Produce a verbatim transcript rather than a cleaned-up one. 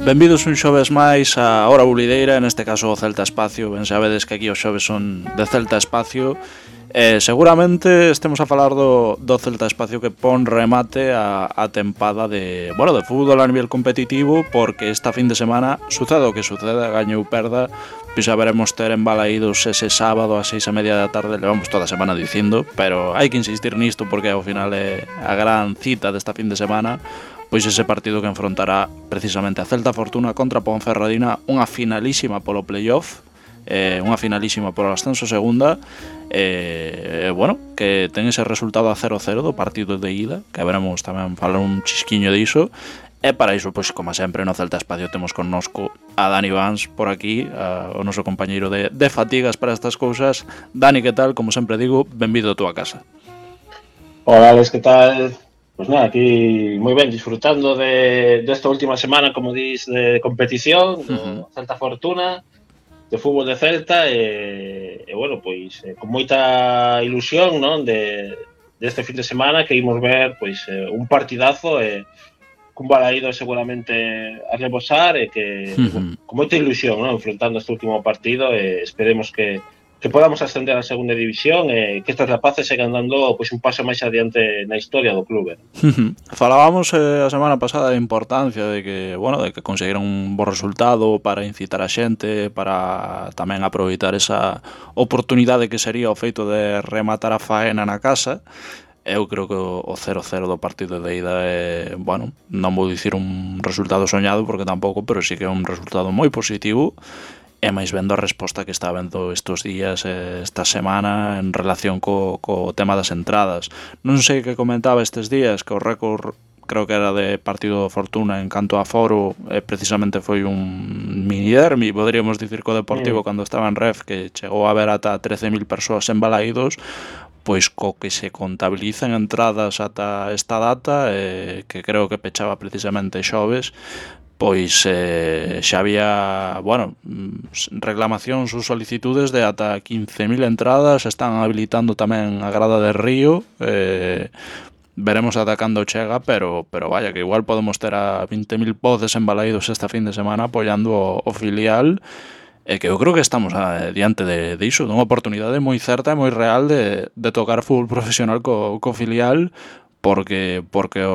Benvidos un xoves máis a Hora Bulideira, neste caso o Celta Espacio. Ben sabedes que aquí os xoves son de Celta Espacio. Eh, seguramente estemos a falar do, do Celta Espacio que pon remate a, a tempada de, bueno, de fútbol a nivel competitivo, porque esta fin de semana sucede o que suceda, gañe ou perda, pois a veremos ter embalaídos ese sábado a seis e media da tarde. Levamos toda a semana dicindo, pero hai que insistir nisto porque ao final é a gran cita desta fin de semana. Pois ese partido que enfrontará precisamente a Celta Fortuna contra Ponferradina, unha finalísima polo playoff, eh, unha finalísima polo ascenso segunda, e eh, bueno, que ten ese resultado a cero cero do partido de ida, que veremos tamén falar un chisquiño diso. E para iso, pois, como sempre, no Celta Espacio temos connosco a Dani Vans por aquí, a, o noso compañeiro de, de fatigas para estas cousas. Dani, que tal? Como sempre digo, benvido a túa casa. Hola, Alex, que tal? Pues nada, aquí moi ben, disfrutando de desta de última semana, como dis, de competición, do uh-huh. Celta Fortuna, de fútbol de Celta, e, e bueno, pois, eh, con moita ilusión, non, de deste de fin de semana, que imos ver, pois, eh, un partidazo, e cun balaído seguramente a rebosar, e que, uh-huh. bueno, con moita ilusión, non, enfrontando este último partido, e esperemos que que podamos ascender a segunda división e que estes rapaces sigan dando pois, un paso máis adiante na historia do clube. Falábamos eh, a semana pasada da importancia de que, bueno, de que conseguiran un bo resultado para incitar a xente, para tamén aproveitar esa oportunidade que sería o feito de rematar a faena na casa. Eu creo que o cero cero do partido de ida é, bueno, non vou dicir un resultado soñado porque tampouco, pero sí que é un resultado moi positivo. E máis vendo a resposta que está vendo estes días, esta semana, en relación co, co tema das entradas. Non sei que comentaba estes días, que o récord creo que era de partido de Fortuna en canto a foro, eh, precisamente foi un mini derbi, poderíamos dicir, co Deportivo, mm. cando estaba en Ref, que chegou a ver ata trece mil persoas en Balaídos, pois co que se contabilizan entradas ata esta data, eh, que creo que pechaba precisamente xoves, pois eh, xa había, bueno, reclamacións ou solicitudes de ata quince mil entradas. Están habilitando tamén a grada de Río, eh, veremos ata cando chega, pero pero vaya, que igual podemos ter a vinte mil voces embalaídos esta fin de semana apoiando o, o filial, e que eu creo que estamos a, diante de, de iso, dunha oportunidade moi certa e moi real de, de tocar fútbol profesional co, co filial, porque porque o